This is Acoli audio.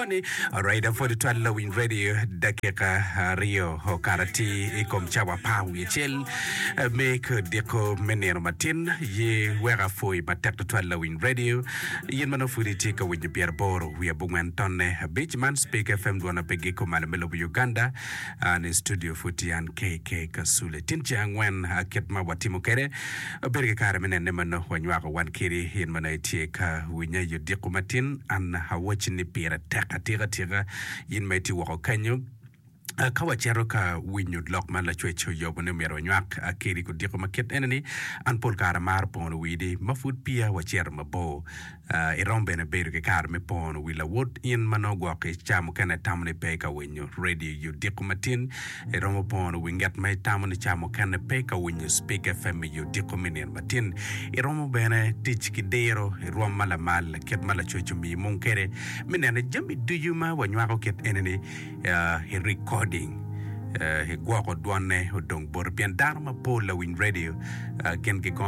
Johnny. Alright, apwod twal lawiny radio dakika aryo okato atir i kom cawa apar wiye acel me kodiko me nino matin. Ye wek apwoyi matek tutwal lawiny radio. In ma nongo pud itye ka winyo pyeraboro wiye abongwen tonne abic man Speak FM dwona pe giko malo me lobo Uganda. An i studio pud tye an KK Kasule. Tin ceng angwen kit ma watimo kwede, wabedo ki kare me nene ma nongo wanywako wan kedi in ma nongo itye ka winya i odiko matin. An awacci ni pire tek atika tika in ma itye woko kenyo. Ka wacito ka winyo lok ma Lacwec oyobo ni myero wanywak kedi odiko ma kit eni ni, an pol kare amaro pono widi ma pud peya wacito mabor. Iromo bene bedo ki kare me pono wi lawot in ma nongo gwok i ca mukene itamo ni pe ka winyo redio i odiko matin. Iromo pono wi nget ma itamo ni ca mukene pe ka winyo Spik FM i odiko me nino matin. Iromo bene tic ki diro i rwom ma lamal kit ma Lacwec omiyi mung kwede me neno jami ducu ma wanywako kit eni-ni i recording, i gwoko dwonne odong boti pien dano mapol lawiny redio gin gigono.